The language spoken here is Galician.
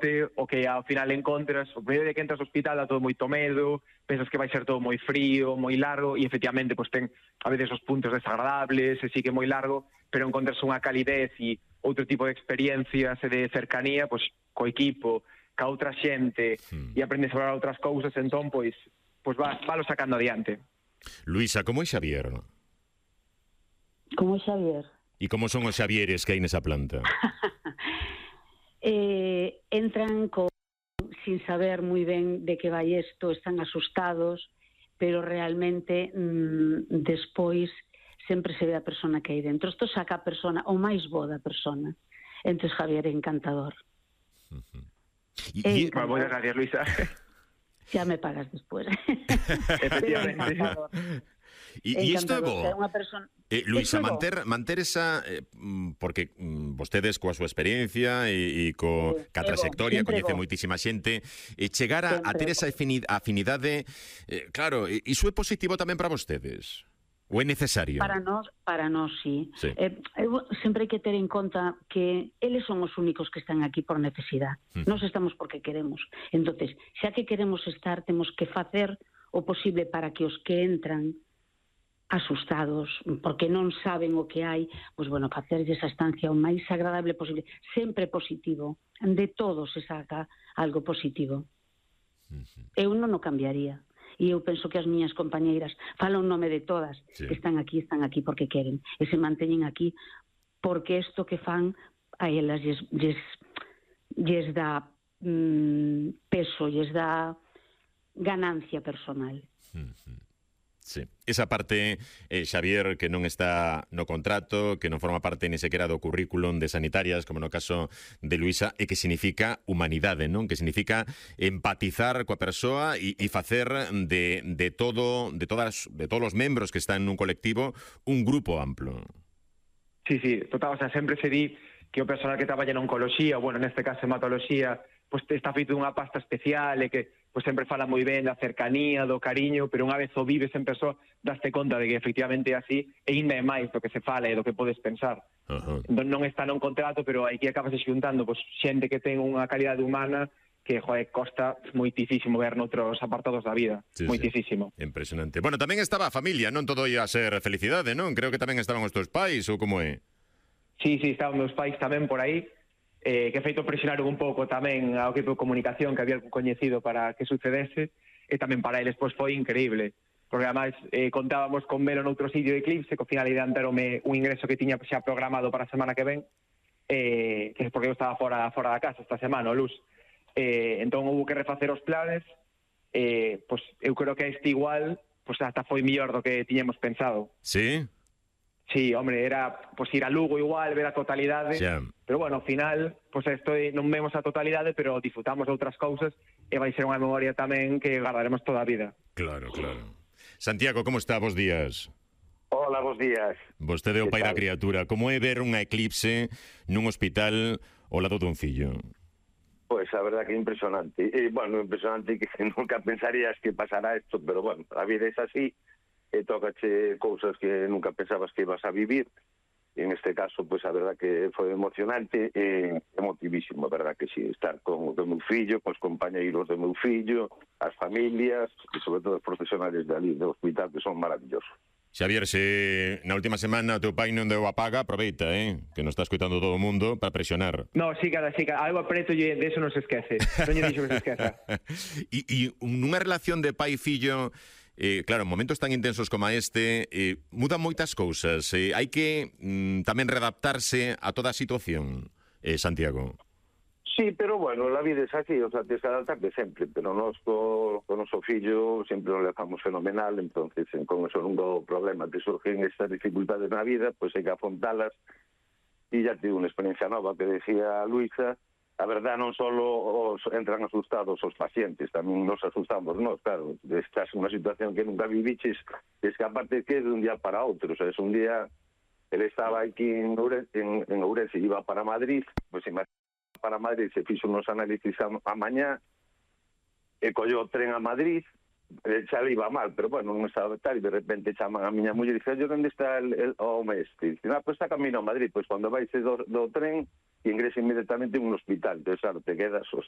sorte o que ao final encontras, o primeiro día que entras ao hospital dá todo moito medo, pensas que vai ser todo moi frío, moi largo, e efectivamente pues, ten a veces os puntos desagradables, e sí que é moi largo, pero encontras unha calidez e outro tipo de experiencias e de cercanía, pues, co equipo, ca outra xente, e aprendes a falar outras cousas, entón, pues valo sacando adiante. Luisa, como é Xavier? Como é Xavier? E como son os Xavieres que hai nesa planta? Entran sin saber moi ben de que vai isto, están asustados, pero realmente despois sempre se ve a persona que hai dentro. Isto saca a persona, o máis bo da persona. Entón Javier é encantador. Moitas gracias, Luisa. Xa me pagas despois. Efectivamente. E isto é bo. Luisa, manter esa... porque vostedes coa súa experiencia e ca trayectoria coñece moitísima xente, chegar a ter esa afinidade, claro, iso é positivo tamén para vostedes? Ou é necesario? Para nós sí. Sempre hai que ter en conta que eles son os únicos que están aquí por necesidade. Nós estamos porque queremos. Entonces, xa que queremos estar, temos que facer o posible para que os que entran asustados, porque non saben o que hai, pois, bueno, facerlle esa estancia o máis agradable posible, sempre positivo, de todo se saca algo positivo. Eu non o cambiaría, e eu penso que as miñas compañeiras, falo en nome de todas, que están aquí porque queren, e se manteñen aquí, porque isto que fan a elas lles dá peso, lles dá ganancia personal. Sí. Esa parte, Xavier, que non está no contrato, que non forma parte ni sequera do currículum de sanitarias, como no caso de Luisa, e que significa humanidade, non? Que significa empatizar coa persoa e facer de todos os membros que están nun colectivo un grupo amplo. Sí, total, o sea, sempre se di que o personal que traballa en oncoloxía, bueno, neste caso hematoloxía, pues está feito dunha pasta especial e que pues sempre fala moi ben da cercanía, do cariño, pero unha vez o vives en persoa, daste conta de que efectivamente é así, e ainda é máis do que se fala e do que podes pensar. Non está non contrato, pero aquí acabas xuntando pues, xente que ten unha calidade humana que, costa moitísimo ver noutros apartados da vida. Moitísimo. Sí. Impresionante. Bueno, tamén estaba a familia, non todo ia a ser felicidade, non? Creo que tamén estaban os teus pais, ou como é? Sí, estaban meus pais tamén por aí, que feito presionaron un pouco tamén ao equipo de comunicación que había coñecido para que sucedese, e tamén para eles pois foi increíble, porque además contábamos con velo noutro sitio de Eclipse, que ao final adiantaronme un ingreso que tiña xa programado para a semana que ven, que é porque eu estaba fora da casa esta semana, o Luz. Entón houve que refacer os planes, pois eu creo que este igual pois hasta foi mellor do que tiñamos pensado. Sí? Sí, hombre, era pues ir a Lugo igual, ver a totalidade, pero bueno, ao final, pues non vemos a totalidade, pero disfrutamos de outras cousas e vai ser unha memoria tamén que guardaremos toda a vida. Claro. Santiago, como está? Bos días. Hola, bos días. Vostede é o pai da criatura. Como é ver unha eclipse nun hospital ao lado dun fillo? Pois a verdad que impresionante. Impresionante que nunca pensarías que pasará isto, pero bueno, a vida é así. E tócache cousas que nunca pensabas que ibas a vivir. E en este caso, pois a verdad que foi emocionante e emotivísimo, a verdad que sí, estar con o meu fillo, cos compañeiros do meu fillo, as familias e sobre todo os profesionales de ali, do hospital, que son maravillosos. Xavier, se na última semana o teu pai non deu a paga, aproveita, que non está escoitando todo o mundo para presionar. No, sí, algo apreto e de eso non se esquece. Non lle dixo que se esqueza. E nunha relación de pai e fillo, claro, en momentos tan intensos como este, mudan moitas cousas. Hai que tamén readaptarse a toda a situación, Santiago. Sí, pero bueno, la vida é así, o sea, tens que adaptarte sempre, pero nós co noso fillo sempre nos levamos fenomenal, entonces con eso non do problema que surgen estas dificultades na vida, pois hai que afrontalas, e ya tive unha experiencia nova que decía Luisa. A verdad, non só entran asustados os pacientes, tamén nos asustamos nós, claro, estás en unha situación que nunca viviches, es que aparte que de un día para outro, o sea, es un día, ele estaba aquí en Ourense e iba para Madrid, pois para Madrid se fixo unos análisis a mañá, e colló o tren a Madrid, xa le iba mal, pero bueno, non estaba tal, e de repente chaman a miña muller e dice, onde está o mestre? Dice, pois está camino a Madrid, pois cando vais do tren, e ingresa inmediatamente en un hospital. Entonces, claro, te quedas,